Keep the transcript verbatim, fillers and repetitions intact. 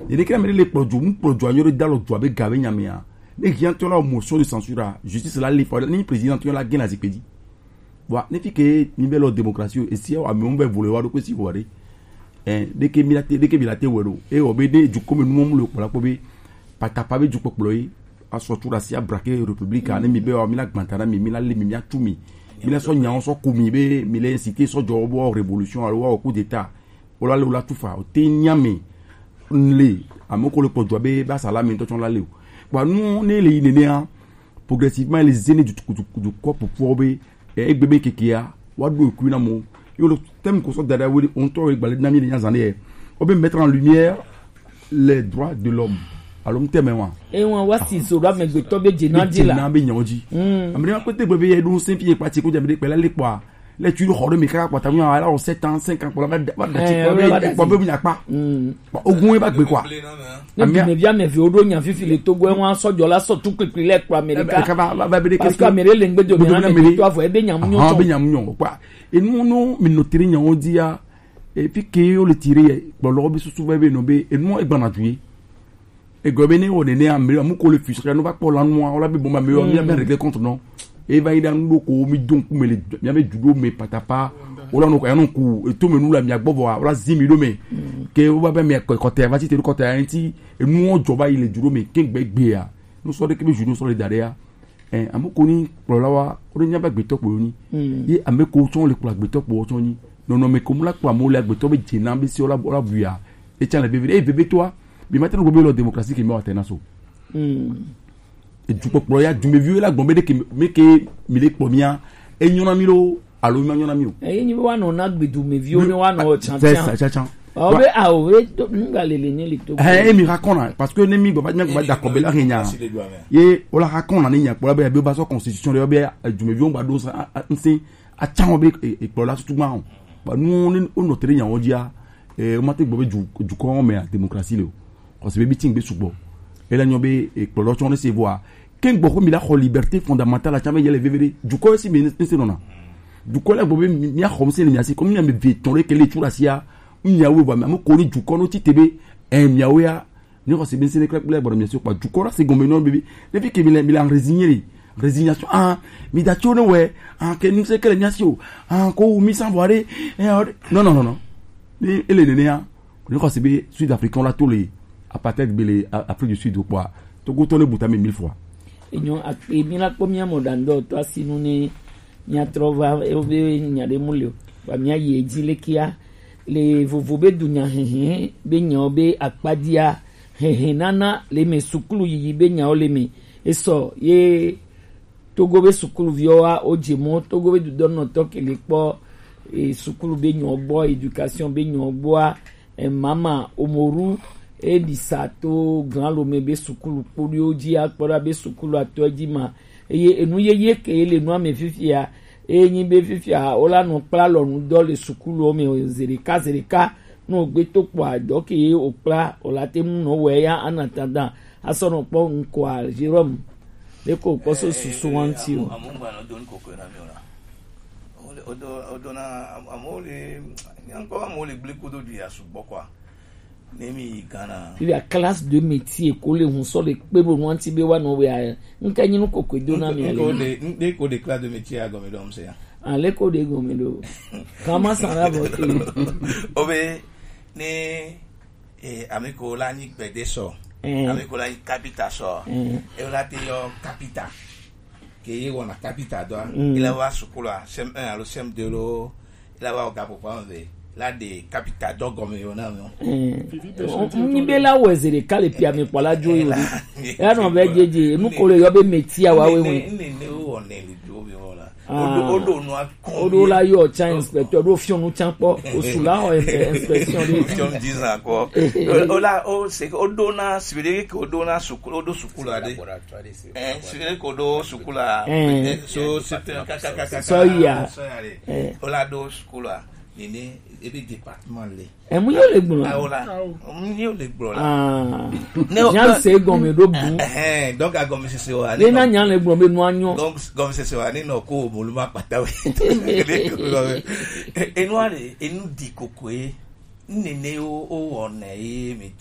Ene kira mele kplɔ jo, mu kplɔ jo anyo ɖe dalɔ jo abe ga be nyamea. Ne hiã tɔ la motion de censure a, justice la le fɔ ni président tɔ la gena zikpe dzi. Wa ne fi ke ni be lɔ démocratie o, esi wa me be vole wa do ko si wa de. Eh, de ke mi la te, de ke mi la te wero. E o be de ju ko me nu mo le kpɔ la kpɔ be patapa be ju kpɔ kpɔ yi. Asɔ tu la si abrake république a, ne mi be wa mi la gbanta na mi, mi la le mi, mi atu mi. Mi la sɔ nya sɔ ku mi be mi le inciter sɔ jo bo révolution alo wa coup d'état. Wala le wala tufa o te nyame nle ame ko le kpɔ jua be ba sala me ntɔ tsɔ la le o. Kpa nu ne le yi nene a, progressivement le zene du du du kɔ pupu be e egbe be keke a wa do ku na mo. Yo le thème ko so dada wele on to gbalɛ na mi le nya zane e. O be mettre en lumière les droits de l'homme. Alo thème wa. E wan wa si so do amegbetɔ be jena di la. Be jena be nyawo ji. Amre ma ko te gbe be e do sen fi e pa ti ko ja be de pe la le kpɔ a. Le tu xɔ ɖe mi kaka kpɔta mi ala wɔ sept ans, cinq ans kpɔ la va da ti kpɔ be kpɔ be mi akpa. Ogun ba gbe kwa. Ne bi me via me vi oɖo nya fifi le Togo e wan sɔjɔ la sɔ tu kpikpi le kpɔ Amerika. Ka va va be de parce que Amerika le ngbe do mi na me to avɔ e be nya mu nyo. Be nya mu nyo kwa. Enu no mi no tiri nya o dia. E fi ke o le tiri e kpɔ lɔ bi susu be be no be enu e gbana ju ye. Egɔme be ne wɔ nene ame amu ko le fi sɔsɔ no va kpɔ la nua wala be bɔn ma me wɔ mi be régler compte non. E va yi da nu ɖo ko mi do ŋku me le mi be judo me patapa. Wala no ko ya no ku eto me nu la mi agbɔ vɔ wala zi mi ɖo me. Ke wo va be mi kɔ kɔtɛ va ti te ɖo kɔtɛ ya ŋti enu wo jɔ va yi le judo me ke gbe gbe ya. Nu sɔ ɖe ke be judo sɔ le da ɖe ya. Eh, ame ko ni kplɔla wa, wo ɖe nya be agbetɔ kpo ni. Ye ame ko tsɔ le kplɔ agbetɔ kpo tsɔ ni. Nɔnɔme ko mu la kpɔ amewo le agbetɔ be dze na be si wo la, wo la bu ya. Etsa le veve, eye veve toa, bi ma te ɖo be lɔ démocratie ke mi wa te na so. Edukpɔkplɔ ya, dumeviwo la gbɔn be ɖe ke mi ke mi le kpɔ mia, enyɔ na mi lo, alo mi ma nyɔ na mi o. Eyi nyi be woanɔ na gbedumeviwo ne woanɔ tsantsan. C'est ça, tsantsan. Ɔ be awo be to nu ga lele ne le to. Ɛ emi ha kɔna parce que ne mi gbɔ mi gbɔ da kɔ be la hɛn nya. Ye o la ha kɔna ne nya kpɔ la be be ba sɔ constitution de be dumeviwo gba do sa ŋse atsan be ekplɔ la tutu gba o. Ba nu ne o nɔ tere nya o dia. E o ma te gbɔ be du du kɔ me démocratie le o. Kɔsi be bi tin gbe sugbɔ. E la nyɔ be ekplɔ lɔ tsɔ ne se voa. Ke gbɔ ko mi la xɔ liberté fondamentale tsã be yele vevede. Dukɔ si mi ne se nɔna. Dukɔ la gbɔ be mi axɔ mi se ne mi asi ko mi mi ve tɔn le kele tu la sia. Mi awo va mi amu ko ni dukɔ no ti te be. Eh mi awo ya. Ni xɔ se be se ne kle kple gbɔ mi asi ko dukɔ la se gɔme no be. Ne fi ke mi le mi la résigner. Résignation. Ah, mi da tso ne we. Ah, ke ni se kele mi asi o. Ah, ko mi san voir. Eh, non non non non. Ni ele ne ya. Ni xɔ se be Sud Africain la to le apartheid be le Afrique du Sud kpɔa, Togo tɔ le bu tame mille fois. Enyo akpe mi la kpɔ mia mɔ ɖandɔ tɔ asinu ne mia trɔ va ewo be nya ɖe mu le o. Wa mia yi edzi le kia le vovo be dunya hehe be nyawo be akpadia hehe nana le me sukulu yiyi be nyawo le me esɔ ye Togo be sukuluviwo wa wo dze mɔ Togo be dudɔnɔtɔ ke le kpɔ e, sukulu be nyɔ gbɔ, éducation be nyɔ gbɔa, e, mama omoru e ɖisa to gran lome be sukulu kpoɖiwo dzi akpɔ ɖa be sukulu atɔ dzi ma eye enu yeye ke le nua me fifia eye nyi be fifia wo la nɔ kpla lɔnu dɔ le sukuluwo me zeɖeka zeɖeka nɔ gbe to kpɔ adɔ ke ye wo kpla wo la te mu nɔ wɛ ya ana tandan asɔ nɔ kpɔ ŋkɔa Jérôme. Ɖeko kpɔ so susu wa ŋuti o. Amewo gbanɔ do nu koko na mi o la. Wole wodo wodo na amewo le nyankpɔ amewo le gble kodo du ya sugbɔ kɔa. Ne mi yi Ghana. Il y a classe de métier ko le hun sɔ le kpe bo nu ŋuti be wa nɔ wea. Ŋke nyi nu koko do na mi ale. Ŋke de classe de métier agɔme do ŋse ya. Ale ko de gɔme do. Kama san la bɔ te. Obe ne Eh, ame ko la nyi gbede sɔ. Ame ko la nyi kapita sɔ. E la te yɔ kapita. Ke ye wɔna kapita dɔa. E la wa sukulu a, C M un alo C M deux lo. E la wa ga popo ame ve. La de kapita dɔ gɔme yo na mi. Nyi be la wɛ ze ɖeka le pia mi kpɔ la dzo yo. E la nɔ be jeje, nu ko le yɔ be meti a wa we we. Ne ne wo ne le dzo mi wo la. Woɖo woɖo nua kɔn. Woɖo la yɔ tsa inspecteur ɖo fiɔnu tsa kpɔ osu la xɔ inspection ɖi. Fiɔnu dix ans kɔ. Wola o se woɖo na sibiri ke woɖo na sukulu woɖo sukulu aɖe. Eh sibiri ke woɖo sukulu a. So c'était kakakaka. Sɔya. Wola ɖo sukulu a nene ebe département le. Emu yóò le gblɔ. Awo la. Emu yóò le gblɔ la. Ah. Ne o nya se gɔme ɖo bu. Ɛhɛn, donc agɔmesese wa. Ne na nya le gblɔ be nua nyɔ. Donc gɔmesese wa ne nɔ ko molu ma kpata we. Enua le enu di kokoe. Nene o o wɔnɛ ye mi